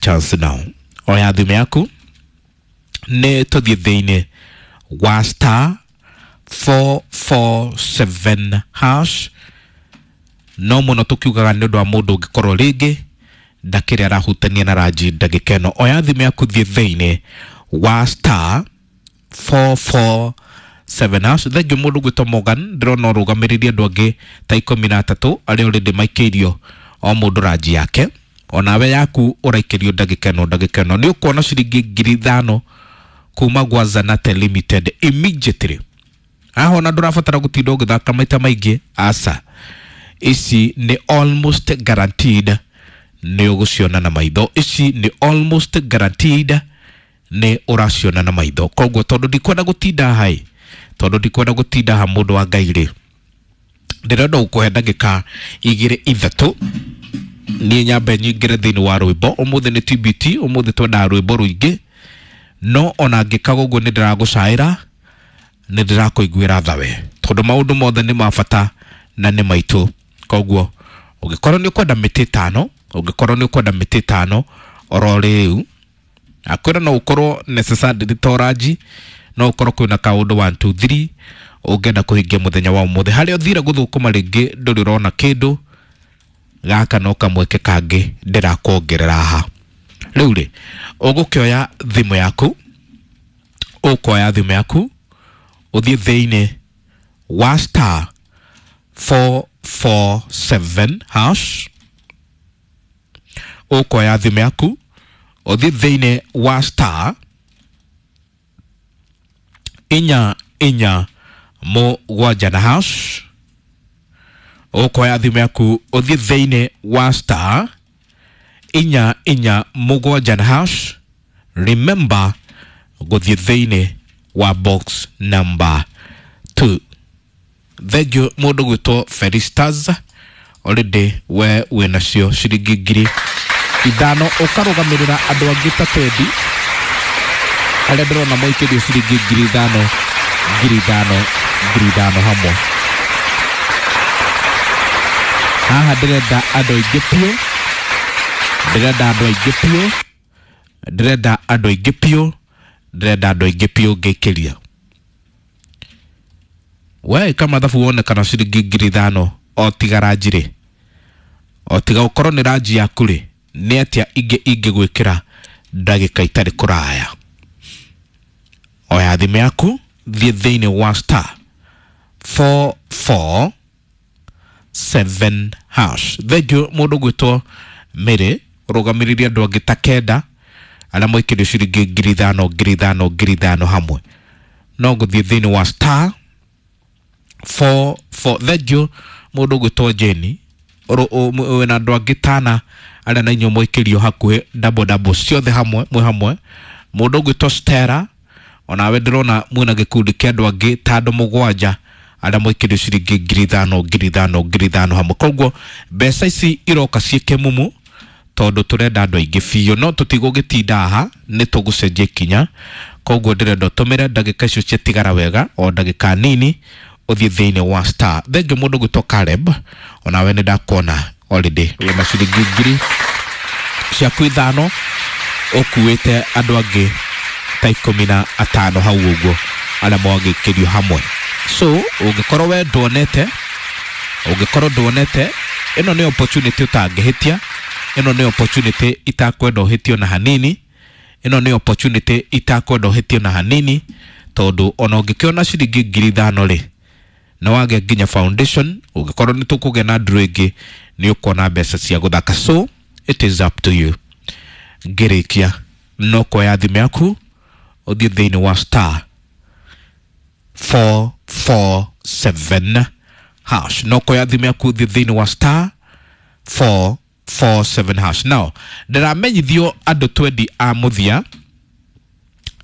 Chance now. Oya thimũ yaku nĩ tũthiĩ thĩinĩ wa star 447 hash. No mũno tũkiugaga nĩ ũndũ wa mũndũ ũngĩkorwo rĩngĩ ndakĩrĩ arahutania na ranji ndagĩka ĩno. Oya thimũ yaku, thiĩ thĩinĩ wa star 447 hash. Thengiũ mũndũ gwĩtwo Morgan, ndĩrona ũrũgamĩrĩrie andũ angĩ ta 13 arĩa already maikĩirio o mũndũ ranji yake. Onawe yaku ũraikĩrio ndagĩka ĩno, ndagĩka ĩno nĩ ũkuona ciringi 5,000 kuma gwa Zanate Limited immediately. Haha ona ndũrabatara gũtinda ũgĩthaka maita maingĩ, aca, ici nĩ almost guaranteed nĩ ũgũciona na maitho. Ici nĩ almost guaranteed nĩ ũraciona na maitho. Koguo tondũ ndikwenda gũtinda hai, tondũ ndikwenda gũtinda ha, mũndũ wa Ngai rĩ, ndĩrenda gũkũhe ndagĩka igĩrĩ ithatũ niĩ nyambe nyingĩre thĩinĩ wa rwĩmbo. Ũmũthĩ nĩ TBT, ũmũthĩ twendaga rwĩmbo rũingĩ, no ona ngĩkaga ũguo nĩ ndĩragũcaĩra, nĩ ndĩrakũiguĩra thawe, tondũ maũndũ mothe nĩ ma bata na nĩ maitũ. Koguo ũngĩkorwo nĩ ũkwenda mĩtĩ ĩtano, ũngĩkorwo nĩ ũkwenda mĩtĩ ĩtano oro rĩu, akwĩra no ũkorwo necessarily to ranji, no ũkorwo kwĩna kaũndũ 1 2 3 ũngĩenda kũhingia mũthenya wa ũmũthĩ, harĩa ũthire gũthũkũma rĩngĩ ndũrĩ ũrona kĩndũ, gaka no kamweke kangĩ ndĩrakuongerera haha. Rĩu rĩ, ũgũkĩoya thimũ yaku, ũkoya thimũ yaku ũthiĩ thĩinĩ wa star 447 hash. Ũkoya thimũ yaku ũthiĩ thĩinĩ wa star 447 na hash. Ũkoya thimũ yaku ũthiĩ thĩinĩ wa star 447 na hash. Remember gũthiĩ thĩinĩ wa box number 2. Thengiũ mũndũ gwĩtwo Felistas, already we wĩnacio ciringi 5,000, ũkarũgamĩrĩra andũ angĩ ta twendi arĩa ndĩrona maikĩrio ciringi 5,000, 5,000, 5,000 hamwe. Haha ndĩrenda andũ aingĩ biũ, ndĩrenda andũ aingĩ biũ, ndĩrenda andũ aingĩ biũ, ndĩrenda andũ aingĩ biũ ngĩikĩria. We ĩka mathabu wone kana ciringi 5,000 o tiga ranji rĩ, o tiga ũkorwo nĩ ranji yaku rĩ, nĩ atĩa ingĩ ingĩgwĩkĩra ndagĩka itarĩ kũraya. Oya thimũ yaku, thiĩ thĩinĩ wa star 447 hash. Thengiũ mũndũ gwĩtwo Mary, ũrũgamĩrĩrie andũ angĩ ta kenda arĩa maikĩrio ciringi 5,000, 5,000, 5,000 hamwe. No gũthiĩ thĩinĩ wa star 44. Thengiũ mũndũ gwĩtwo Jeni, wĩna andũ angĩ tana arĩa na inyuĩ mwaikĩrio hakuhĩ double double ciothe hamwe mwĩ hamwe. Mũndũ ũgwĩtwo Stella, onawe ndĩrona mwĩna gĩkundi kĩa andũ angĩ ta andũ mũgwanja arĩa mwaikĩrio ciringi 5,000, 5,000, 5,000 hamwe. Koguo mbeca ici iroka ciĩ kĩmumu tondũ tũrenda andũ aingĩ biũ, no tũtigũgĩtinda haha, nĩ tũgũcenjia ikinya. Koguo ndĩrenda ũtũmĩre ndagĩka icio ciatigara wega, o ndagĩka nini ũthiĩ thĩinĩ wa star. Thengiũ mũndũ gwĩtwo Caleb, onawe nĩ ndakuona already wĩna ciringi 5,000 ũkuĩte andũ angĩ ta 15 hau ũguo arĩa mwagĩkĩrio hamwe. So ũngĩkorwo we nduonete, ũngĩkorwo nduonete, ĩno nĩ opportunity ũtangĩhĩtia, ĩno nĩ opportunity itakwenda ũhĩtio na hanini, ĩno nĩ opportunity itakwenda ũhĩtio na hanini, tondũ ona ũngĩkĩona ciringi 5,000 rĩ, nĩ wagĩa nginya foundation. Ũngĩkorwo nĩ tũkũgĩa na nduru ĩngĩ, nĩ ũkuona mbeca cia gũthaka. So it is up to you. Ngĩrĩkia no kuoya thimũ yaku ũthiĩ thĩinĩ wa star 447 hash. No kuoya thimũ yaku ũthiĩ thĩinĩ wa star 447 hash. Now ndĩramenyithio andũ twendi a mũthia,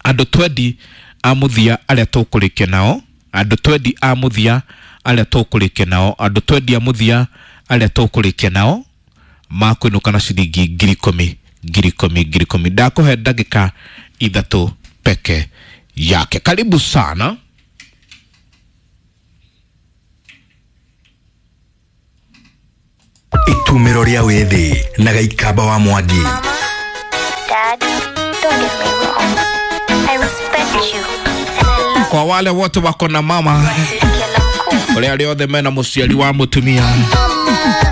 andũ twendi a mũthia arĩa tũkũrĩkia nao, andũ twendi a mũthia arĩa tũkũrĩkia nao, andũ twendi a mũthia arĩa tũkũrĩkia nao makwĩnũka na ciringi 10,000, 10,000, 10,000. Ndakũhe ndagĩka ithatũ peke yake. Karibu sana. Itumĩro rĩa wĩthĩ na Gaikamba wa Mwangi. get me wrong. I respect you and I love Kwa wale wote wako na mama, you. Kila mkuu. ule arĩa othe mena mũciari wa mũtumia,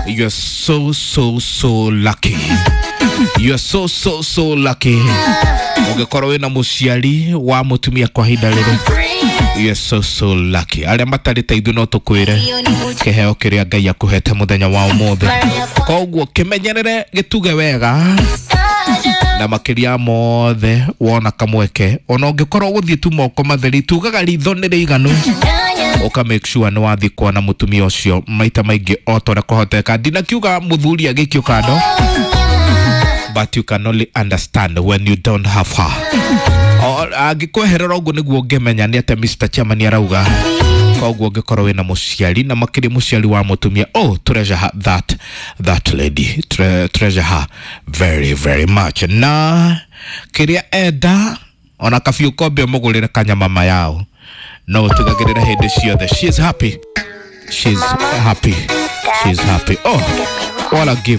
you're so so so lucky, you're so so so lucky. Ũngĩkorwo wĩna mũciari wa mũtumia kwa ihinda rĩrĩ, you're so so lucky. Arĩa matarĩ ta ithuĩ no tũkwĩre kĩheo kĩrĩa Ngai akũhete mũthenya wa ũmũthĩ. Koguo kĩmenyerere, gĩtuge wega, na makĩria mothe wona kamweke, ona ũngĩkorwo gũthiĩ tu moko matheri, tugaga ritho nĩ rĩiganu, ũka make sure nĩ wathiĩ kuona mũtumia ũcio maita maingĩ o ta ũrĩa kũhoteka. Ndinakiuga mũthuri agĩikio kando, but you can only understand when you don't have her. Angĩkweherera ũguo nĩguo ũngĩmenya nĩ atĩa Mr. Chairman arauga. Koguo ũngĩkorwo wĩna mũciari na makĩria mũciari wa mũtumia, oh, treasure her, that lady. Treasure her very very much. Na kĩrĩa enda ona kabiũ kombe ũmũgũrĩre kanyama mayao, no ũtigagĩrĩre hĩndĩ ciothe she is happy, she is happy, she is happy. Oh, what a gift.